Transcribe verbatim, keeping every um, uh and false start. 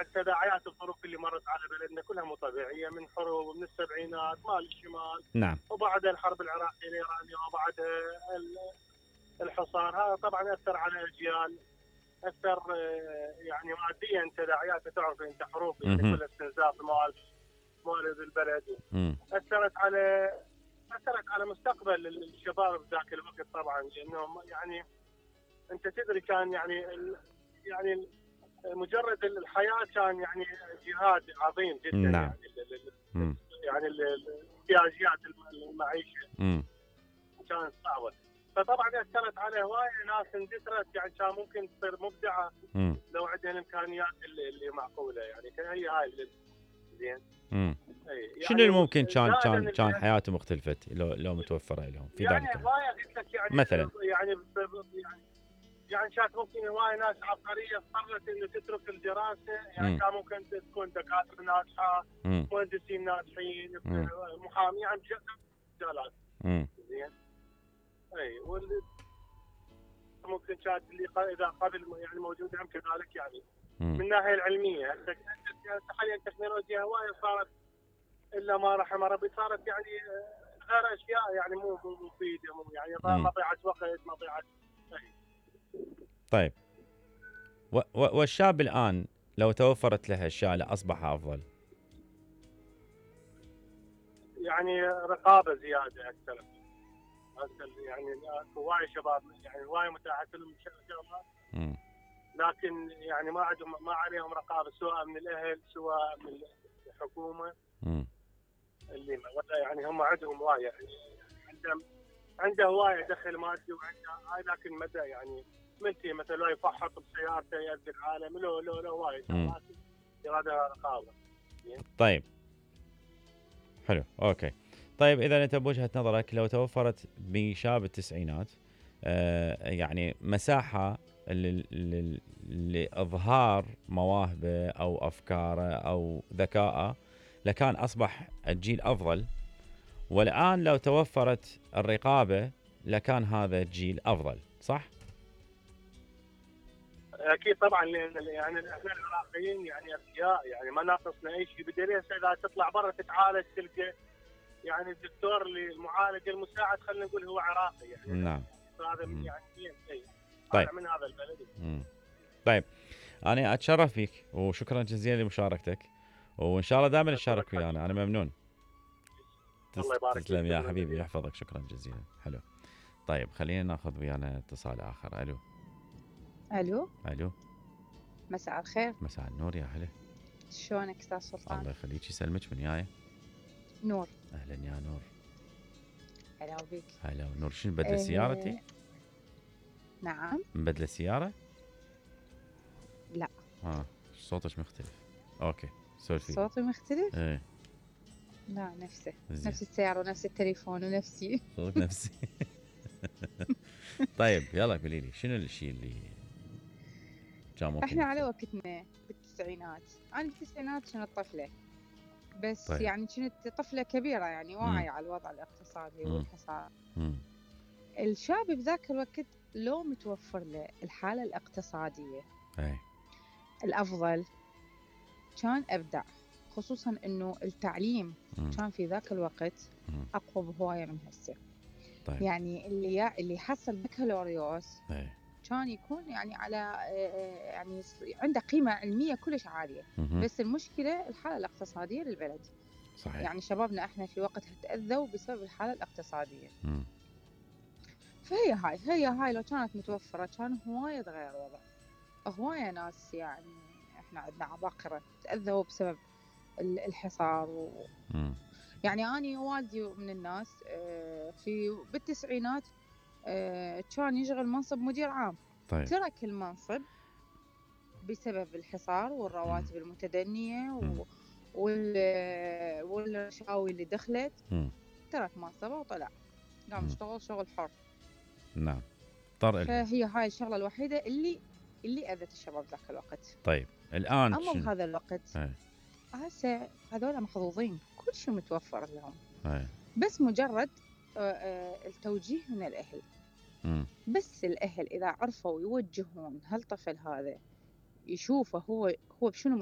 يعني التداعيات الظروف اللي مرت على بلدنا كلها مو طبيعيه، من حروب من السبعينات مال الشمال، نعم، وبعدها الحرب العراقيه الايرانيه، وبعدها الحصار. هذا طبعا اثر على اجيال، اثر يعني ماديا، تداعياته تعرف انت، حروب يعني كلها استنزاف موارد موارد البلد. مم. اثرت على اثرت على مستقبل الشباب ذاك الوقت طبعا، لانهم يعني انت تدري كان يعني يعني مجرد الحياه كان يعني جهاد عظيم جدا. نعم. يعني ال يعني الاحتياجات المعيشه مم. كانت صعبه، فطبعا اثرت على هوايه ناس اندثرت، يعني كان ممكن تصير مبدعه مم. لو عندها الامكانيات اللي, اللي معقوله. يعني هي هاي زين. امم يعني شنو اللي ممكن كان زائداً كان ال- كان حياته مختلفة لو لو متوفرة لهم في يعني ذلك الوقت؟ هوايه قلت لك يعني مثلاً. يعني ب- ب- يعني يعني كانت ممكن هوايه ناس عبقريه اضطرت انه تترك الدراسه، يعني مم. كان ممكن تكون دكاتره ناجحه، امم مهندسين ناجحين، مم. محامي، يعني مجالات. امم زين. اي وال ممكن كانت اللي ق- اذا قبل يعني موجوده هم كذلك، يعني من امم الناحيه العلميه. هسه حاليا التكنولوجيا هوايه صارت الا ما رحم ربي، صارت يعني غير اشياء يعني مو مو مفيده، مو يعني مم. مضيعه وقت، مضيعه. طيب، و و والشاب الآن لو توفرت له الأشياء لأصبح أفضل؟ يعني رقابه زياده اكثر. هسه يعني هواي شباب يعني هواي متاحه لهم شغلات، امم لكن يعني ما عندهم ما عليهم رقابه، سواء من الاهل سواء من الحكومه. امم اللي يعني هم عندهم هوايه، يعني عندهم عنده هوايه دخل مادي وعنده هاي، لكن مدى يعني ملتي مثلا لو يفحط بسيارته يأذي العالم، لو لو لو هوايه شغلات يرادها رقابه. طيب، حلو، أوكي. طيب، إذا أنت بوجهة نظرك لو توفرت بشاب التسعينات آه يعني مساحة لل- لل- لإظهار مواهبه أو أفكاره أو ذكائه، لكان أصبح الجيل أفضل. والآن لو توفرت الرقابة لكان هذا الجيل أفضل، صح؟ اكيد طبعا، لان يعني احنا العراقيين يعني اذكياء، يعني ما ناقصنا اي شيء. بدليل اذا تطلع برا تتعالج تلقى يعني الدكتور اللي المعالج المساعد خلينا نقول هو عراقي، يعني نعم. هذا مم. يعني اي طيب. من هذا البلد. مم. طيب، أنا أتشرف فيك وشكرا جزيلا لمشاركتك، وإن شاء الله دائما نشارك ويانا. أنا ممنون. الله يبارك تسلم يا فيك. حبيبي، يحفظك، شكرا جزيلا. حلو. طيب، خلينا ناخذ ويانا اتصال آخر. ألو. الو، ألو. مساء الخير. مساء النور، يا هلا. شلونك استاذ سلطان؟ الله يخليك، يسلمك. من ياي؟ نور. أهلا يا نور. هلا بيك. هلا نور. شنو بدل إيه... سيارتي؟ نعم. مبدله السيارة؟ لا. اه صوتك مختلف. اوكي، سولفي. صوتي مختلف؟ ايه. لا، نفسه زين. نفس السيارة ونفس التليفون ونفسي. صوت نفسي. طيب، يلا قولي لي شنو الشيء اللي كان ممكن احنا على يحصل؟ وقتنا بالتسعينات، انا بالتسعينات كنت طفلة، بس طيب. يعني كنت طفلة كبيرة، يعني مم. واعية على الوضع الاقتصادي مم. والحصار. مم. الشاب بذاك الوقت لو متوفر له الحالة الاقتصادية اي. الأفضل كان أبدع، خصوصا إنه التعليم مم. كان في ذاك الوقت مم. أقوى بهواية من هسه. طيب. يعني اللي يا اللي حصل بكالوريوس اي. كان يكون يعني على آه، يعني عنده قيمة علمية كلش عالية، مهم. بس المشكلة الحالة الاقتصادية للبلد. صحيح. يعني شبابنا احنا في وقتها تأذوا بسبب الحالة الاقتصادية. مم. فهي هاي هي هاي لو كانت متوفرة كان هواية تغير الوضع. هواية ناس يعني احنا عندنا عباقرة تأذوا بسبب ال- الحصار و... مم. يعني أنا والدي من الناس آه، في بالتسعينات آه، كان يشغل منصب مدير عام. طيب. ترك المنصب بسبب الحصار والرواتب مم. المتدنية مم. و... وال... والرشاوي اللي دخلت. مم. ترك منصبه وطلع قام مم. يشتغل شغل حر. نعم، اضطر إلها. فهي هاي الشغلة الوحيدة اللي اللي أذت الشباب ذاك الوقت. طيب، الآن أما شنو؟ بهذا الوقت اي. هسه هذول محظوظين، كل شيء متوفر لهم، اي. بس مجرد آه، آه، التوجيه من الأهل. مم. بس الأهل إذا عرفوا يوجهون هالطفل هذا يشوفه هو هو بشنو